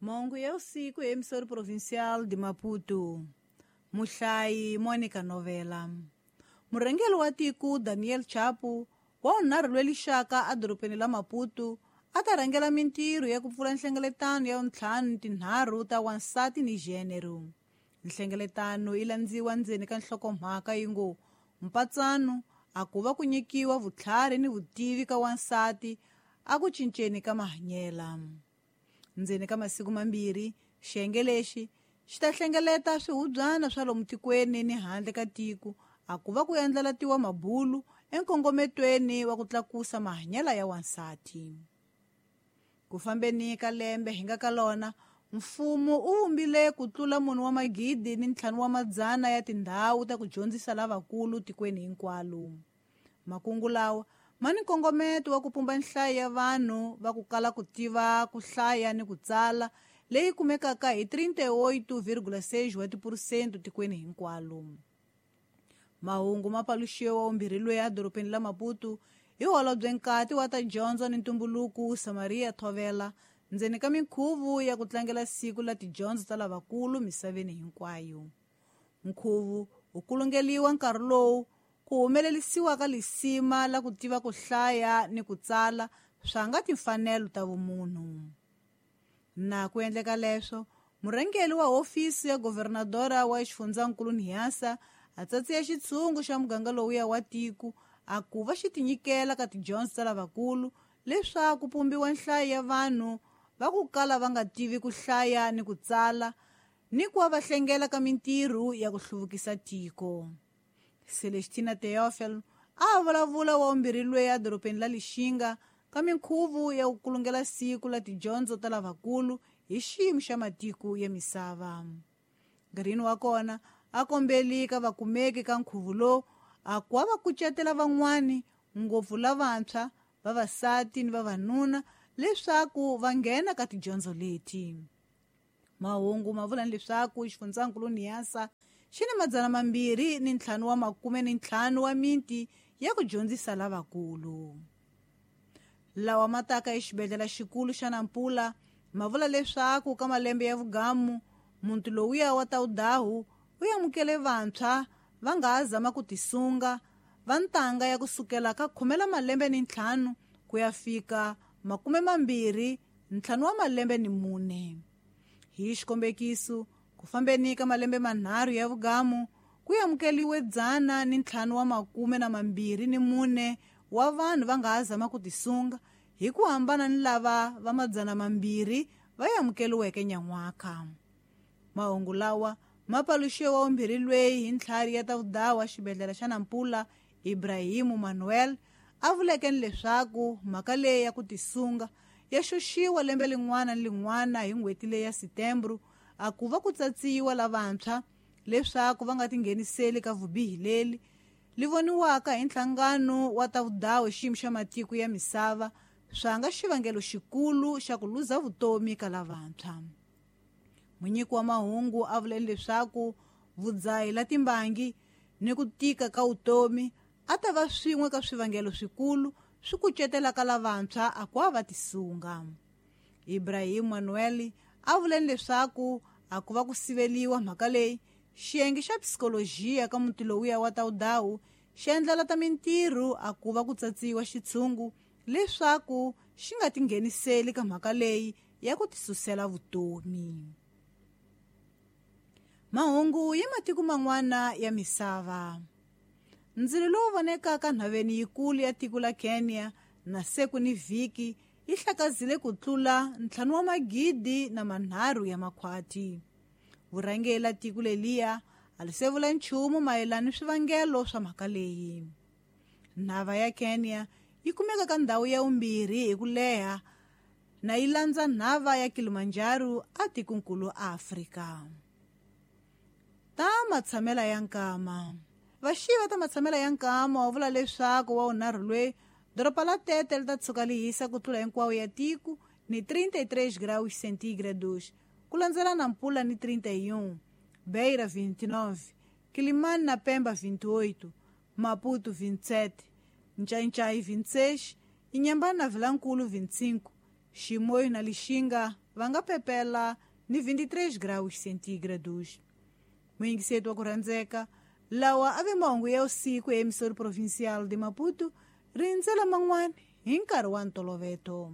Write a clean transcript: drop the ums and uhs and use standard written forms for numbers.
Mongo ya usiku ya emissora provincial de Maputo. Muhlayi Monica Novela. Murhangeri wa tiko Daniel Chapo wa vunharhu lwelixaka edorobeni la Maputo a ta rhangela mintirho ya ku pfula nhlengeletano ya vuntlhanu tinharhu ta wansati ni gênero. Nhlengeletano yi landziwa ndzeni ka nhlokomhaka yi ngo mpatsano a ku va ku nyikiwa vutlhari ni vutivi ka wansati a ku cinceni ka mahanyela. Ndzeni ka masiku mambirhi, xiyenge lexi xi ta hlengeleta swihubyana swa lomu tikweni ni handle ka tiko a ku va ku endlelatiwa mabulu enkongometweni wa ku tlakusa mahanyela ya wansati. Ku fambeni ka lembe hi nga ka lona, mfumo u vumbile ku tlula 4,500 ya tindhawu ta ku dyondzisa lavakulu tikweni hinkwalo. Makungu lawa ma ni nkongometo wa ku pumba nhlayo ya vanhu va ku kala ku tiva ku hlaya ni ku tsala leyi kumekaka hi 38,6 wa tiphurusente tikweni hinkwalo. Mahungu ma paluxiwa vumbirhi loyi edorobeni la Maputo hi holobye nkati wa ta dyondzo ni ntumbuluko Samaria Thovela ndzeni ka minkhuvo ya ku tlangela siku la tidyondzo ta lavakulu misaveni hinkwayo. Nkhuvo wu kulungeliwa nkarhi lowu ku humelerisiwa ka lisima la ku tiva ku hlaya ni ku tsala swa nga timfanelo ta vumunhu. Na ku endleka leswo, murhangeri wa hofisi ya governadora wa xifundzankulu Niassa a tsatsiya xitshungu xa muganga lowuya wa tiko a ku va xi tinyikela ka tidyondzo ta lavakulu leswaku pumbiwa nhlayo ya vanhu va ku kala va nga tivi ku hlaya ni ku tsala ni ku va hlengela ka mintirho ya ku hluvukisa tiko. Celestina Teofel a vulavula wa vumbirhi loyi edorobeni la Lixinga ka minkhuvo ya ku kulungela siku la tidyondzo ta lavakulu hi xiyimo xa matiko ya misava. Nkarhini wa kona a kombeli ka vakumeki ka nkhuvo lowu a ku va kucetela van'wani ngopfu lavantshwa, vavasati ni vavanuna leswaku va nghena ka tidyondzo leti. Mahungu ma vula leswaku xifundzankulu Niassa xi ni 255 wa miti ya ku dyondzisa lavakulu. Lawa ma taka exibedhlele xikulu xa Nampula ma vula leswaku ka malembe ya vugamu muti lowuya wa Taudahu wu amukele vantshwa va nga ha zama ku tisunga va ntanga ya kusukela ka 15 ku ya fika 25 4. Hi xikombekiso, ku fambeni ka malembe manharhu ya vugamu ku amukeliwe 524 wa vanhu va nga ha zama ku tisunga hi ku hambana ni lava va 200 va amukeliweke nyan'waka. Mahungu lawa ma paluxiwa vumbirhi lweyi hi ntlhari ya ta vudawa xibedhlele xa Nampula Ibrahimu Manuel a vuleke ni leswaku mhaka leyi ya ku tisunga ya xoxiwa lembe lin'wana ni lin'wana hi n'hweti leyi ya Setembro a ku va ku tsatsiwa lavantshwa leswaku va nga tingheniseli ka vubihi leli li voniwaka hi nhlangano wa ta vudawu xiyimo xa matiko ya misava swa nga xivangelo xikulu xa ku luza vutomi ka lavantshwa. Munyiki wa mahungu a vule leswaku vudzahi la timbangi ni ku tika ka vutomi a ta va swin'we ka swivangelo swikulu swi kucetelaka lavantshwa a ku va tisunga. Ibrahim Manuel a vule leswaku a ku va ku siveliwa mhaka leyi xiyenge xa psikolojiya ka muti lowuya wa Taudahu xi endlela ta mintirho a ku va ku tsatsiwa xitshungu leswaku xi nga tingheniseli ka mhaka leyi ya ku tisusela vutomi. Mahungu ya matiko man'wana ya misava. Ndzilo lowu vonekaka nhaveni yikulu ya tiko la Kenya na seku ni vhiki yi hlakazile ku tlula 5,300 ya makhwati. Vurhangeri la tiko leliya a li se vula nchumu mayelana ni swivangelo swa mhaka leyi. Nhava ya Kenya yi kumeka ka ndhawu ya vumbirhi hi ku leha na yi landza nhava ya Kilimanjaro a tikonkulu Afrika. Ta matshamela ya nkama. Vaxiva ta matshamela ya nkama wa vula leswaku wa vunharhu lweyi doroba la Tete li ta tshuka li hisa ku tlula hinkwawo ya tiko ni 33 graus centígrados ku landzela Nampula ni 31, Beira 29, Quilimane na Pemba 28, Maputo 27, Nchaichai 26, Inhambane na Vilankulu 25, Chimoio na Lixinga va nga pepela ni 23 graus centígrados. Muyingiseti wa ku rhandzeka, lawa a ve mahungu ya usiku emissora provincial de Maputo, rindzela man'wana hi nkarhi wa ntoloveto.